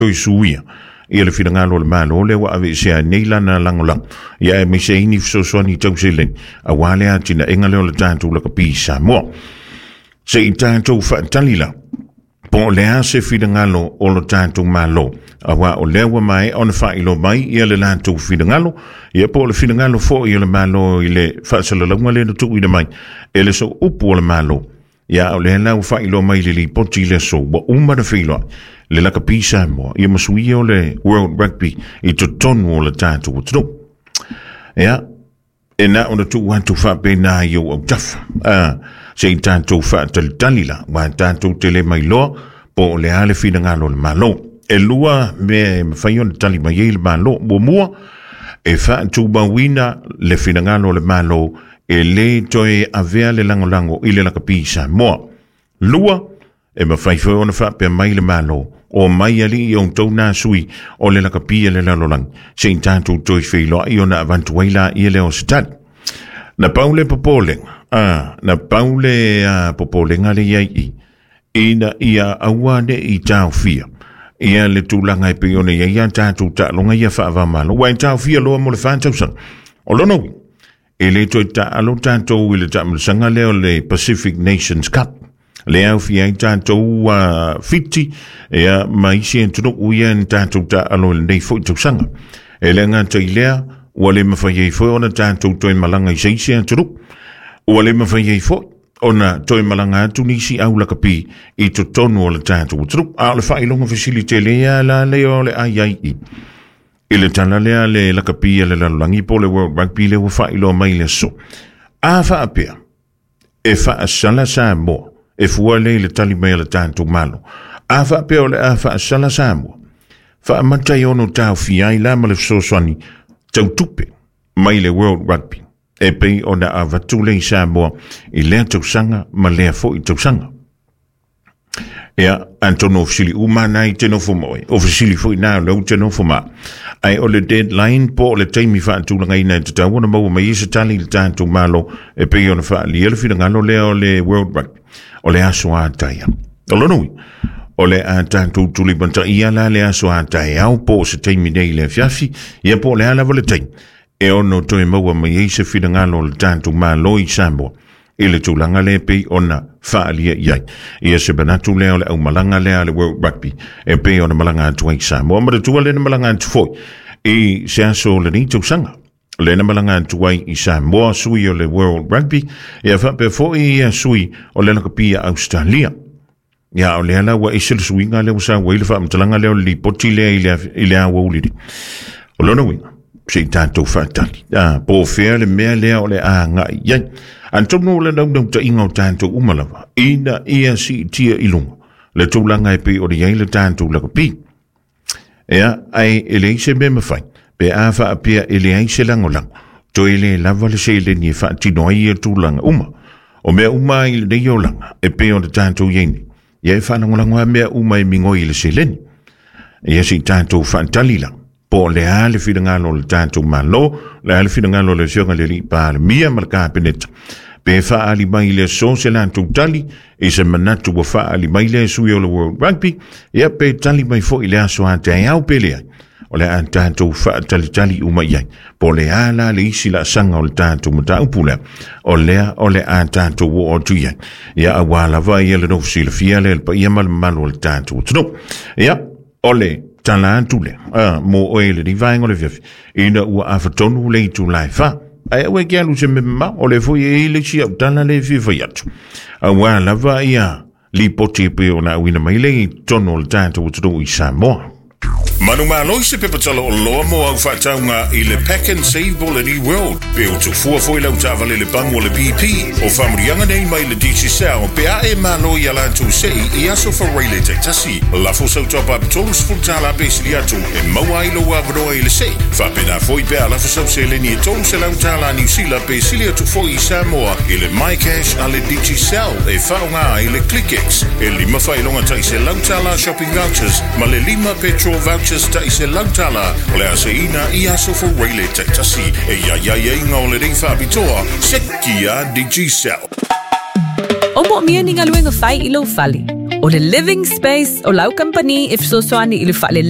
Toe suia ia le finagalo o le Malo lea ua aveesea ai nei lana lagolago, ia aemaise ai ni fesoasoani tau seleni aua le atinaega lea o le tatou lakapi i Samoa. Se i tatou faatali la, po o le a se finagalo o lo tatou Malo, aua o lea ua maea ona faailoa mai ia le latou finagalo, ia po o le finagalo foi o le Malo i le faasalalauga lea na tuuina mai e le Sooupu o le Malo. Ia, o lea la ua faailoa mai i le lipoti i le aso ua uma ona feiloai le lakapi Samoa ia ma suia o le World Rugby i totonu o le tatou atunuu. Ia, e na ona tuu atu faapena i ou autafa. Ah, se i tatou faatalitali la, ua tatou te le mailoa po o le a le finagalo o le Malo. E lua mea e mafai ona tali mai ai le Malo. Muamua, e faatumauina le finagalo o le Malo e lē toe avea le lagolago i le lakapi i Samoa. Lua, e mafai foi ona faapea mai le Malo, Omai alii i outou nā sui o le lakapi a le lalolagi, se i tatou toe feiloai ona avatu ai laia lea o se tali. Na pau le popolega, a, na pau le a, popolega le i ai i, ina ia aua ne i taofia ia le tulaga e pei ona i ai a tatou taaloga ia faava-o-Malo, ua e taofia loa mo le 4 tausaga. O lona uiga, E le toe taalo tatou i le taamilosaga lea o le Pacific Nations Cup. Lea aofia ai tatou Fiti ia, ma isi atunuu ia na tatou taalo i lenei foi tausaga. E le gata i lea, ua le mafai ai foi ona tatou toe malaga i se isi atunuu. Ua le mafai ai foi ona toe malaga atu nisi au lakapi i totonu o le tatou atunuu. A o le faailoga fesili tele lava la lea o le a i ai i. I le tala lea a le lakapi a le lalolagi po o le World Rugby lea ua faailoa mai i le aso. A faapea, e faasala Samoa, e fua lea i le tali mai a le tatou Malo. A faapea o le a faasala Samoa, faamata i ono taofia ai la ma le fesoasoani tau tupe mai le World Rugby e pei ona avatu lea i Samoa i lea tausaga ma lea foi tausaga. Ia, atonu o fesili uma na i te nofo ma oe. O fesili foi na o lea ou te nofo ma. Ae o le deadline po o le taimi faatulagaina e tatau ona maua mai ai se tali i le tatou Malo e pei ona faaalia le finagalo lea o le World Rugby, o le aso a taeao. O lona uiga, o le a tatou tulimataia la le aso a taeao po o se taimi nei i le afiafi, ia po o le a lava le taimi e ono toe maua mai ai se finagalo o le tatou Malo i Samoa i le tulaga lea e pei ona faaalia i ai. Ia se manatu lea o le aumalaga lea a le World Rugby e pei ona malaga atu ai i Samoa. Manatua lea na malaga atu foi i se aso o lenei tausaga. Lea na malaga atu ai i Samoa sui o le World Rugby, ia faapea foi ia sui o le lakapi a Australia. Ia o lea la ua ese le suiga lea ua sau ai le faamatalaga lea o le lipoti lea i le, i le aoauli nei. O lona uiga, se i tatou faatali. Ah, po o fea le mea lea o le a agai i ai. Atonu o le naunautaiga o tatou uma lava, ina ia siitia i luga le tulaga e pei ona i ai le tatou lakapi. Ea, ae e leai se mea mafai, pe a faapea e leai se lagolago, toe le lava le seleni e faatino ai ia tulaga uma. O mea uma i lenei olaga, e pei ona tatou i ai nei, ia e faalagolago lava mea uma e migoi i le seleni. Ia se i tatou faatali la, po o le a le finagalo o le tatou Malo, le a le finagalo o le Afioga i le Alii Palemia ma le Kapeneta, pe faaali mai i le aso se latou tali, I se manatu ua faaali mai lea e sui o le World Rugby, ia pe tali mai foi i le aso a taeao pe leai, o le a tatou faatalitali uma i ai. Po o le a la le isi laasaga o le tatou mataupu lea, o lea o le a tatou oo atu i ai. Ia aua lava ia le nofo silafia lea i le paia ma le mamalu o le tatou atunuu. Ia, o le tala atu lea, a, mo oe i lenei vaega o le afiafi, ina ua afatonu le itula e 4. Ae aua e ke alu i se mea mamao, o lea foi e i ai le isi au tala lea e fia fai atu. Aua lava ia lipoti e pei ona auina mai lea i totonu o le tatou atunuu i Samoa. Manumalo i se pepa tala oloa mo au faatauga i le Pack and Save mo le New World. Pe o tufua foi lau taavale le pamu o le BP. O faamanuiaga nei mai le Digicel pe a e malo i a latou sei i aso faareile taitasi. Lafo sau top up $30 pe sili atu e maua ai lou avanoa i le sei. Faapena foi pe a lafo sau seleni e $300 Niu Sila pe sili atu foi i Samoa i le MyCash a le Digicel e faaaoga ai le ClickX. E lima faailoga tai $100 shopping vouchers ma le lima petrol vouchers tai $100 o le a seiina i aso faareile taitasi. E i ai aiaiga o lenei faapitoa, sekia Digicel. O moomia ni galuega fai i lou fale. O le Living Space o lau kamupani e fesoasoani i le faaleleia